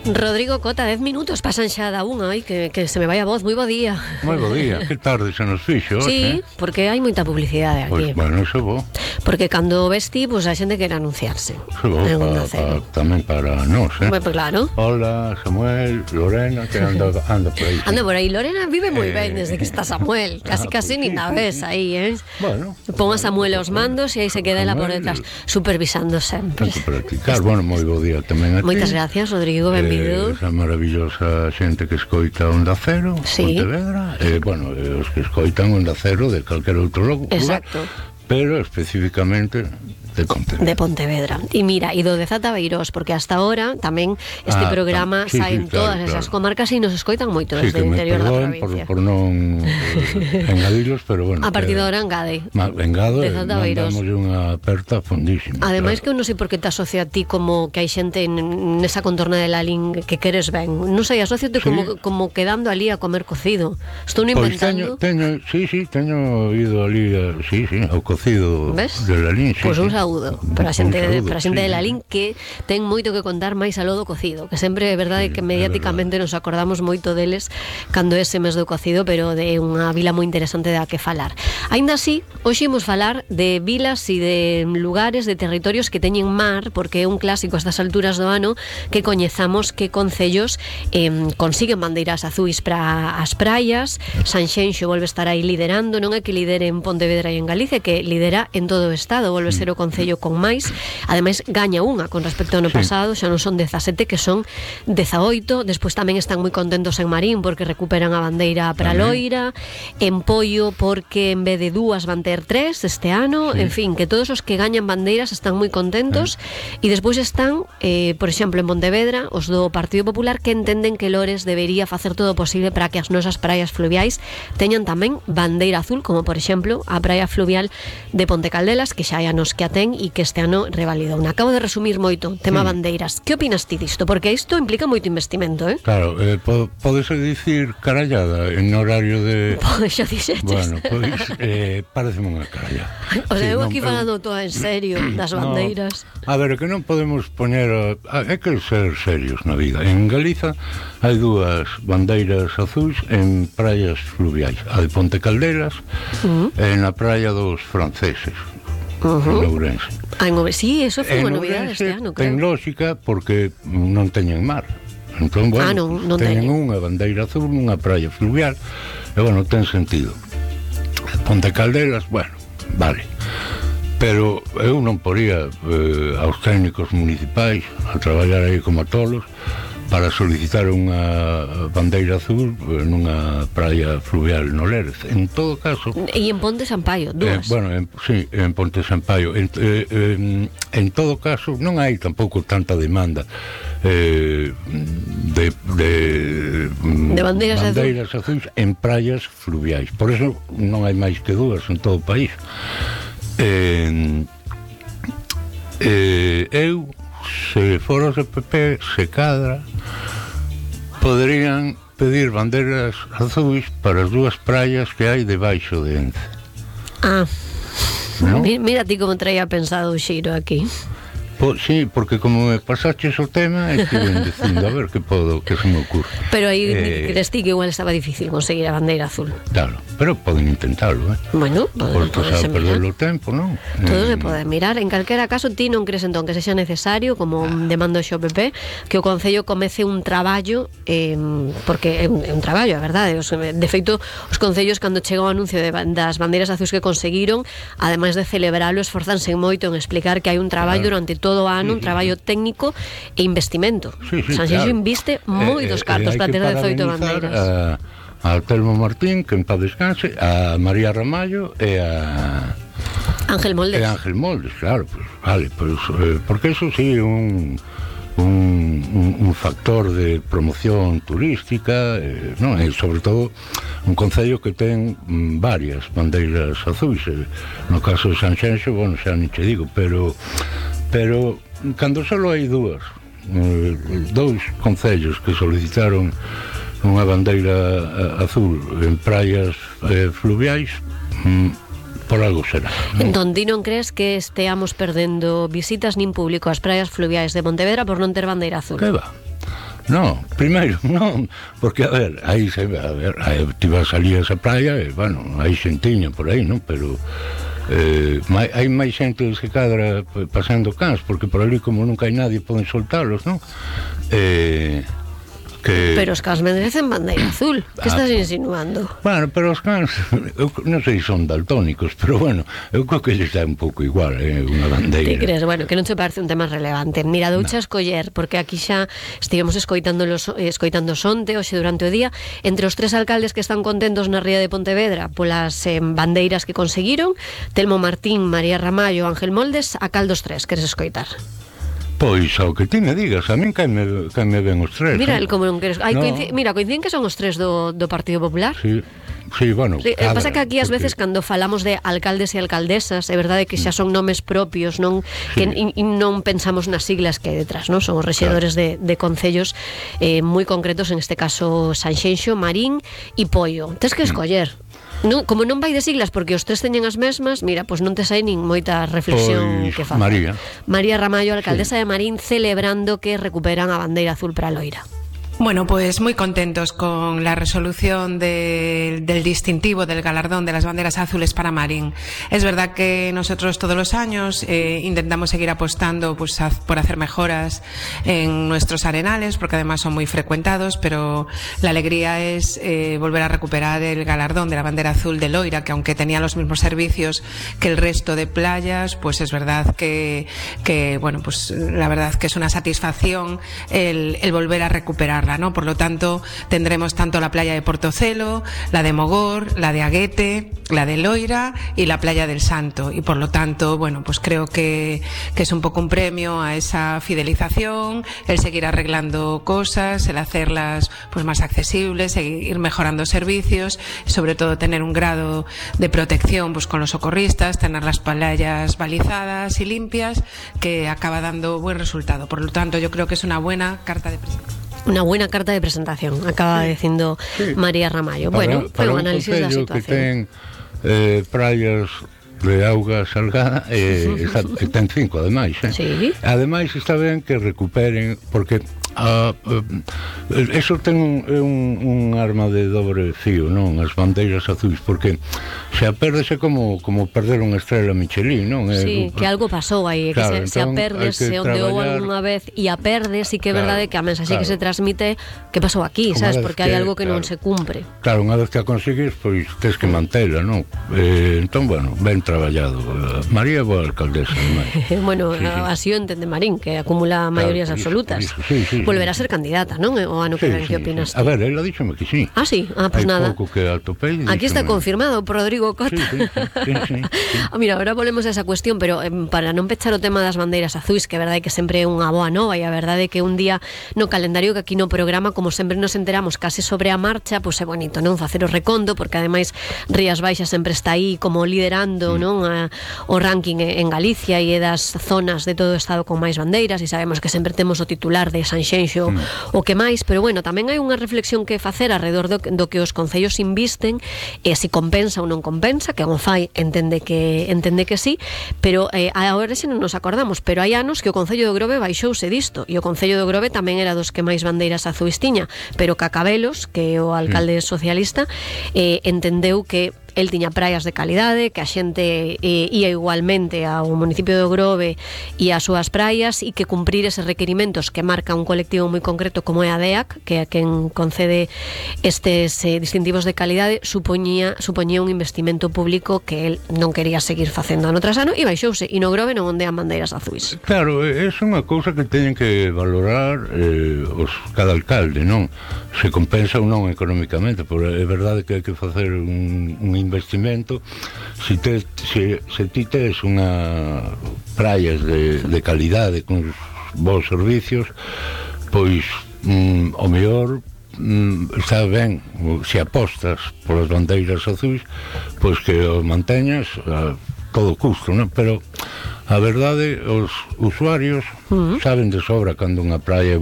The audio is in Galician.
Rodrigo Cota, 10 minutos pasan xa da unha. Ai, que se me vai a voz. Moi bo día. Moi bo día, que tarde se nos fixo. Sí, porque hai moita publicidade aquí. Pois, bueno, iso bo. Porque cando vesti, pues, a xente quere anunciarse. Iso bo, tamén para nós, Pues claro. Hola, Samuel, Lorena, que anda por aí. Anda por aí, Lorena vive moi ben desde que está Samuel. Casi ni na ves aí, Bueno. Pon a Samuel aos mandos e aí se queda ela por detrás, supervisando sempre. Tanto practicar. Bueno, moi bo día tamén a ti. Moitas gracias, Rodrigo, benvido. Esa maravillosa xente que escoita Onda Cero, sí. Pontevedra, os que escoitan Onda Cero de calquer outro lugar. Exacto. Pero especificamente de Pontevedra. De Pontevedra. E mira, e do de Zata Beirós, porque hasta ahora tamén este programa sae en todas esas comarcas e nos escoitan moito desde o interior da provincia. Por non engadilos, pero bueno. A partir de ahora engade. Engado, mandamos unha aperta fondísima. Ademais que eu non sei por que te asocia a ti como que hai xente nesa contorna de Lalín que queres ben. Non sei, asociate como quedando ali a comer cocido. Estou inventando. Teño ido ali, ao cocido de Lalín. Pois un saúdo para a xente de Lalín que ten moito que contar máis aló do cocido, que sempre é verdade que mediáticamente nos acordamos moito deles cando ese mes do cocido, pero de unha vila moi interesante da que falar. Aínda así, hoxe imos falar de vilas e de lugares, de territorios que teñen mar, porque é un clásico a estas alturas do ano que coñezamos que concellos consiguen bandeiras azuis para as praias. Sanxenxo volve a estar aí liderando, non é que lidere en Pontevedra e en Galicia, que lidera en todo o estado, volve a ser o concello con máis. Ademais, gaña unha con respecto ao ano pasado, xa non son 17, que son 18. Despois tamén están moi contentos en Marín porque recuperan a bandeira para Loira, en Poio porque en vez de 2 van ter 3 este ano, en fin, que todos os que gañan bandeiras están moi contentos. E despois están, por exemplo, en Pontevedra, os do Partido Popular, que entenden que Lores debería facer todo o posible para que as nosas praias fluviais teñan tamén bandeira azul, como por exemplo a praia fluvial de Ponte Caldelas, que xa hai anos que a ten e que este ano revalidou. Acabo de resumir moito, tema bandeiras. Que opinas ti disto? Porque isto implica moito investimento, Claro, podese dicir carallada en horario de... Pois xa dixeches. Bueno, pois pareceme unha carallada. O sea, eu aquí falando todo en serio das bandeiras. A ver, que non podemos poñer... Hai que ser serios na vida. En Galiza hai 2 bandeiras azuis en praias fluviais. A de Ponte Caldelas e na praia dos franceses. En Ourense. Sí, eso foi unha novidade este ano, creo. Ten lógica porque non teñen mar. Entón, bueno, non teñen unha bandeira azul nunha praia fluvial e, bueno, ten sentido. Ponte Caldelas, bueno, vale. Pero eu non poría aos técnicos municipais a traballar aí como tolos para solicitar unha bandeira azul nunha praia fluvial no Lérez. En todo caso... E en Ponte Sampaio, 2. Sí, en Ponte Sampaio. En todo caso, non hai tampouco tanta demanda de bandeiras azuis en praias fluviais. Por eso non hai máis que 2 en todo o país. Eu, se foros de PP, se cadra, poderían pedir bandeiras azuis para as 2 praias que hai debaixo de Ence. ¿No? Mira ti como traía pensado o xiro aquí. Sí, porque como me pasaches o tema, estive dicindo a ver que se me ocurre. Pero aí crees ti que igual estaba difícil conseguir a bandeira azul. Claro, pero poden intentarlo, Bueno, podes perder o tempo, non? Todo se pode mirar. En calquera caso, ti non crees entón que sexa necesario, como demanda o PP, que o Concello comece un traballo, porque é un traballo, a verdade. De feito, os concellos, cando chega o anuncio das bandeiras azuis que conseguiron, ademais de celebralo, esforzanse moito en explicar que hai un traballo durante todo o ano, un traballo técnico e investimento. Sanxenxo inviste moitos cartos para ter 18 bandeiras. A Telmo Martín, que en paz descanse, a María Ramallo e a Ángel Moldes. Claro, pues, vale, pues, porque eso sí é un factor de promoción turística, non? E sobre todo un concello que ten varias bandeiras azuis. No caso de Sanxenxo, bueno, xa non che digo, pero cando só hai 2 concellos que solicitaron unha bandeira azul en praias fluviais, por algo será. Entón, ti non crees que esteamos perdendo visitas nin público ás praias fluviais de Pontevedra por non ter bandeira azul? Que va? No, primeiro, non, porque, a ver, aí ti vas ali a esa praia e, bueno, hai xentiña por aí, non? Pero hai máis xente que cadra pasando cans, porque por ali como nunca hai nadie poden soltalos, non? Pero os cans merecen bandeira azul. Que estás insinuando? Bueno, pero os cans eu non sei se son daltónicos, pero bueno, eu creo que lles dá un pouco igual, unha bandeira. Ti crees? Bueno, que non se parece un tema relevante. Mira, doucha escoller, porque aquí xa estivemos escoitando sonte hoxe durante o día, entre os 3 alcaldes que están contentos na ría de Pontevedra polas bandeiras que conseguiron, Telmo Martín, María Ramallo, Ángel Moldes, a cal dos 3 queres escoitar? Pois, ao que ti me digas, a min caime ben os 3. Mira, como non queres... Mira, coinciden que son os 3 do Partido Popular. Sí, bueno, pasa que aquí ás veces cando falamos de alcaldes e alcaldesas, é verdade que xa son nomes propios, non que non pensamos nas siglas que hai detrás, non? Son os rexedores de concellos moi concretos, en este caso Sanxenxo, Marín e Poio. Tes que escoller. Non, como non vai de siglas porque os 3 teñen as mesmas, mira, pois non te sai nin moita reflexión que facer. María Ramallo, alcaldesa de Marín, celebrando que recuperan a bandeira azul para a Loira. Bueno, pues muy contentos con la resolución del distintivo, del galardón de las banderas azules para Marín. Es verdad que nosotros todos los años intentamos seguir apostando pues, por hacer mejoras en nuestros arenales, porque además son muy frecuentados, pero la alegría es volver a recuperar el galardón de la bandera azul de Loira, que aunque tenía los mismos servicios que el resto de playas, pues es verdad que bueno, pues la verdad que es una satisfacción el volver a recuperarla, ¿no? Por lo tanto, tendremos tanto la playa de Portocelo, la de Mogor, la de Aguete, la de Loira y la playa del Santo. Y por lo tanto, bueno, pues creo que es un poco un premio a esa fidelización, el seguir arreglando cosas, el hacerlas pues más accesibles, seguir mejorando servicios, sobre todo tener un grado de protección pues con los socorristas, tener las playas balizadas y limpias, que acaba dando buen resultado. Por lo tanto, yo creo que es una buena carta de presentación. Una buena carta de presentación, acaba dicindo María Ramallo. Bueno, foi un análisis da situación. Que ten praias de auga salgada e ten 5 ademais, Sí. Ademais está ben que recuperen, porque eso ten un arma de dobre fío, non? As bandeiras azuis, porque se a perdese como perder unha estrela Michelin, non? Sí, que algo pasou aí, claro, que se a perdes, se ondeou algunha vez e a perdes, e que é verdade que a mensaxe que se transmite, que pasou aquí, sabes? Porque hai algo que non se cumpre. Claro, unha vez que a consigues, pois tes que mantela, non? Entón, bueno, ben traballado. María é boa alcaldesa, bueno, así o entende Marín, que acumula maiorías absolutas. Volverá a ser candidata, non? O ano que ven, que opinas? A ver, ela díxome que sí. Ah, sí? Ah, pues nada. Pouco que atopei. Aquí está confirmado por Rodrigo Cota. Sí. Mira, ahora volvemos a esa cuestión, pero para non pechar o tema das bandeiras azuis, que é verdade que sempre é unha boa nova, e a verdade que un día no calendario que aquí no programa, como sempre nos enteramos case sobre a marcha, pois é bonito, non? Facer o recondo, porque ademais Rías Baixas sempre está aí como liderando, non? O ranking en Galicia, e é das zonas de todo o estado con máis bandeiras, e sabemos que sempre temos o titular de Sanxenxo o que máis, pero bueno, tamén hai unha reflexión que facer alrededor do que os concellos invisten, e se compensa ou non compensa, que o fai entende que sí, pero agora xa non nos acordamos, pero hai anos que o Concello de Grove baixouse disto, e o Concello de Grove tamén era dos que máis bandeiras azuis tiña, pero Cacabelos, que é o alcalde socialista, entendeu que el tiña praias de calidade, que a xente ia igualmente ao municipio do Grove e ás súas praias, e que cumprir eses requerimentos que marca un colectivo moi concreto como é a DEAC, que é a quen concede estes distintivos de calidade, supoñía un investimento público que el non quería seguir facendo ano tras ano, e baixouse, e no Grove non ondean bandeiras azuis. Claro, é unha cousa que teñen que valorar cada alcalde, non? Se compensa ou non económicamente, porque é verdade que hai que facer un investimento. Se ti tes unha praias de calidade con bons servicios, pois o mellor está ben, se apostas polas bandeiras azuis, pois que o manteñas a todo custo, non? Pero a verdade, os usuarios saben de sobra cando unha praia é